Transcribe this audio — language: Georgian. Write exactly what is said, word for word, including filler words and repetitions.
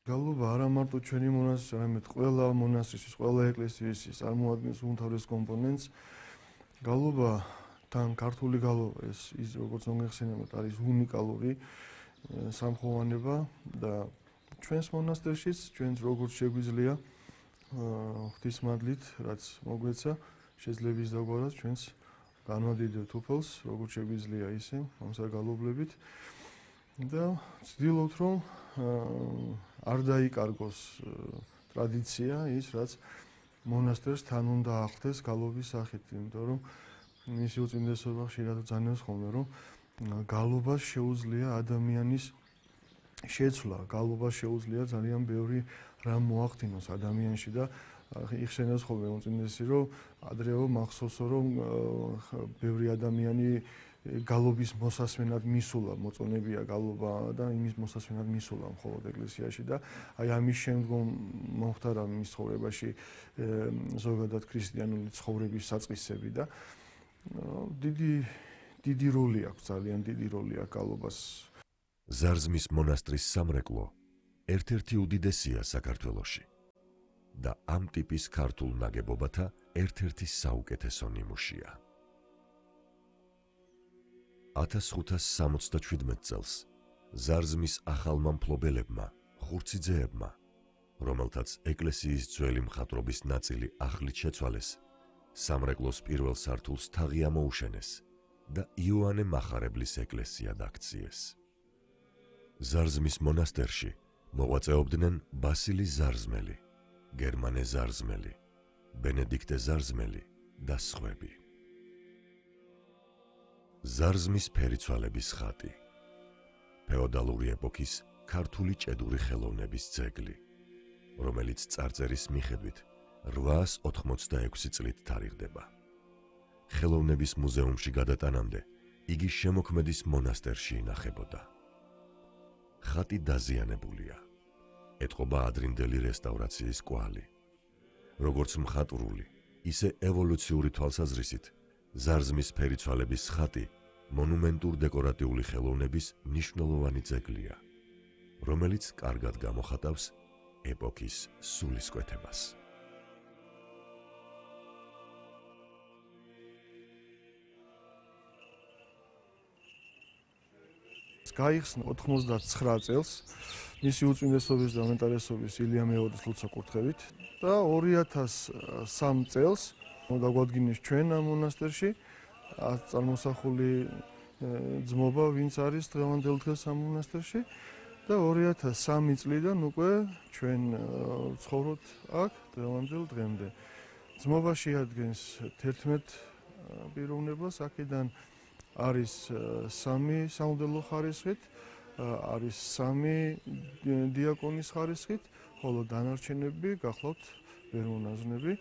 გალობა არა მარტო ჩვენი მონასტრის, არამედ ყველა მონასტრის, ყველა ეკლესიის წარმოადგენს უმთავრეს კომპონენტს. გალობა თან ქართული გალობა ეს ის როგორც მოგეხსენებათ არის უნიკალური სამხოვანება და ჩვენს მონასტერშიც ჩვენს როგორც შეგვიძლია ღვთისმადლით რაც მოგვეცა შეძლების დაგვარად ჩვენს განვადიდებთ უფალს როგორც შეგვიძლია ისე ამსაგალობლებით და ვცდილობთ რომ არ დაიკარგოს ტრადიცია ის რაც მონასტერს თან უნდა ახლდეს გალობის სახით, იმიტომ რომ მისი უწინდესობა ხშირად ძანებს ხოლმე რომ გალობას შეუძლია ადამიანის შეცვლა, გალობას შეუძლია ძალიან ბევრი რამ მოახდინოს ადამიანში და იხსენებს ხოლმე უწინდესი რომ ადრეო მახსოვსო რომ ბევრი ადამიანი გალობის მოსასმენად მისულა, მოწონებია გალობა და იმის მოსასმენად მისულა მხოლოდ ეკლესიაში და აი ამის შემდგომ მოხდა რა მის ცხოვრებაში ზოგადად ქრისტიანული ცხოვრების საწყისები და დიდი დიდი როლი აქვს, ძალიან დიდი როლი აქვს გალობას. ზარზმის მონასტრის სამრეკლო ერთ-ერთი უდიდესია საქართველოში და ამ ტიპის ქართულ ნაგებობათა ერთ-ერთი საუკეთესო ნიმუშია. ათას ხუთას სამოცდაჩვიდმეტ წელს ზარზმის ახალმა მფლობელებმა, ხურციძეებმა, რომელთაც ეკლესიის ძველი მხატვრობის ნაწილი ახლით შეცვალეს, სამრეკლოს პირველ სართულს თაღი ამოუშენეს და იოანე მახარებლის ეკლესია დაქციეს. ზარზმის მონასტერში მოღვაწეობდნენ ბასილი ზარზმელი, გერმანე ზარზმელი, ბენედიქტე ზარზმელი და სხვები. ზარზმის ფერიცვალების ხატი ფეოდალური ეპოქის ქართული ჭედური ხელოვნების ძეგლი, რომელიც წარწერის მიხედვით რვაას ოთხმოცდაექვსი წლით თარიღდება. ხელოვნების მუზეუმში გადატანამდე იგი შემოქმედის მონასტერში ინახებოდა. ხატი დაზიანებულია. ეტყობა ადრინდელი რესტავრაციის კვალი. როგორც მხატვრული, ისე ევოლუციური თვალსაზრისით, ზარზმის ფერიცვალების ხატი მონუმენტურ დეკორატიული ხელოვნების მნიშვნელოვანი ძეგლია, რომელიც კარგად გამოხატავს ეპოქის სულისკვეთებას. გაიხსნა ოთხმოცდაცხრა წელს მისი უწმინდესობის და უმეტარესობის ილია მეორის ლოცვა-კურთხევით და ორი ათას სამი წელს დაგვადგინეს ჩვენ ამ მონასტერში წარმოსახული ძმობა, ვინც არის დღევანდელ დღეს ამ მონასტერში და ორი ათას სამი წლიდან უკვე ჩვენ ცხოვრობთ აქ დღევანდელ დღემდე. ძმობა შეადგენს თერთმეტ პიროვნებას, აქედან არის სამი სამღვდელო ხარისხით, არის სამი დიაკონის ხარისხით, ხოლო დანარჩენები გახლავთ ვერ მონაზვნები.